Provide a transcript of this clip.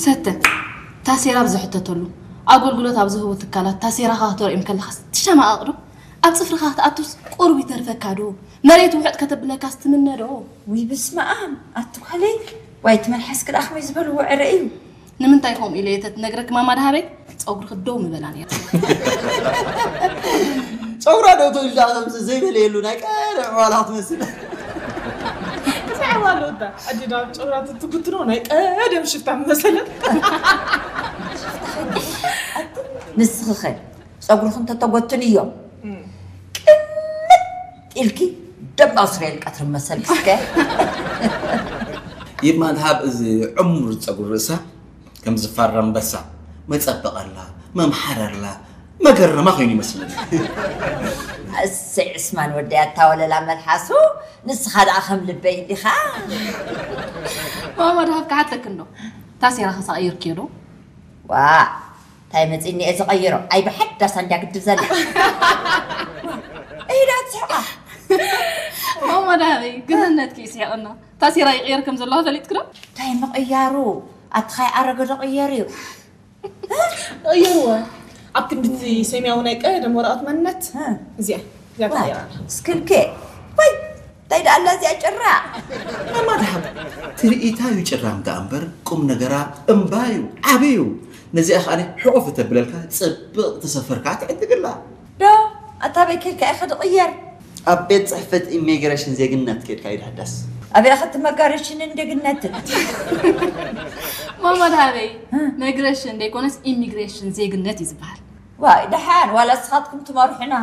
ሰተ፣ ታሴራ ብዝሕተተሉ ኣገልግሎት ኣብ ዝህቡ ትካላት ታሴራኻ ክተርእዮም ከለኻስ ትሸማቐቕ ዶ? ኣብ ጽፍርኻ ክትኣቱስ ቁሩብ ይተርፈካ ዶ? መሬት ውሕጥ ከተብለካስ ትምነ ዶ? ውይ፣ በስመ ኣብ፣ ኣቲ ጓለይ፣ ዋይ፣ እቲ መልሓስኪ ደኣ ከመይ ዝበልዎ ዕረ እዩ። ንምንታይ ከምኡ ኢለ እየ ተትነግረኪ ማማ ደሃበይ? ጸጉርኺ ደው ምበላ ነይሩ። ጸጉራ ዶ ትውልዳ ከምዚ ዘይበለየሉ ናይ ቀደም ዕዋላ ክትመስል። እንታይ ዕዋላ ወዳ? ኣዲዳ ጨውራ ትትጉትኖ ናይ ቀደም ሽፍታ መሰለት። ንስኺ ኸ ጸጉርኺ እንተተጎትንዮ ቅምጥ ኢልኪ ደም ኣስርየል ቀትሪ መሰልኪ እስከ። ይማን ሃብ እዚ ዕሙር ጸጉሪ ርእሳ ከም ዝፋራ ኣንበሳ መጸበቐላ መምሓረላ መገረማ ኮይኑ ይመስለኒ። እሰይ ዕስማን ወደይ ኣታወለላ መልሓሱ ንስኻ ደኣ ከም ልበይ እንዲኻ። ማማ ደሃብ ክሓተክ እንዶ ታሴራ ከሳቐይርክዮ ዶ? ዋ እንታይ መፂኒ እየ ዝቐይሮ ኣይ ብሓዳስ እንዲያ ግድብ ዘላ። ኢዳ ትስሕቃ። ማማ ደሃበይ ግርህነትኪ ይስሕቕና። ታሴራ ይቕየር ከም ዘለዋ ፈሊጥክ ዶ? እንታይ ምቕያሩ? ኣቲ ኻይ ኣረገ ዶ ቅየር እዩ። ቀየርዎ ኣብ ክንድቲ ሰማያዊ ናይ ቀደም ወረቐት መንነት እዚኣ እዚኣ ተቐይራ ኣላ። ስክልኬ ወይ እንታይ ደኣ ኣላ እዚኣ ጭራ። ማማ ደሃብ ትርኢታ እዩ ጭራም ደኣ እምበር ቁም ነገራ እምባ እዩ ዓቢ እዩ። ነዚኣ ከኣ ሕቑፍ እተብለልካ ጽብቕ ተሰፈርካ ትዕድግላ። ዶ ኣታ በይ ከድካ ኢኻ ድቕየር። ኣብ ቤት ጽሕፈት ኢሚግሬሽን ዜግነት ከድካ ይድሕደስ። ኣበይ ኢኻ እቲ መጋረሽንን ደግነትን። ማማ ደሃበይ መግረሽን ዘይኮነስ ኢሚግሬሽን ዜግነት እዩ ዝበሃል። ዋይ ደሓን ዋላ ንስኻትኩም ትመርሑና።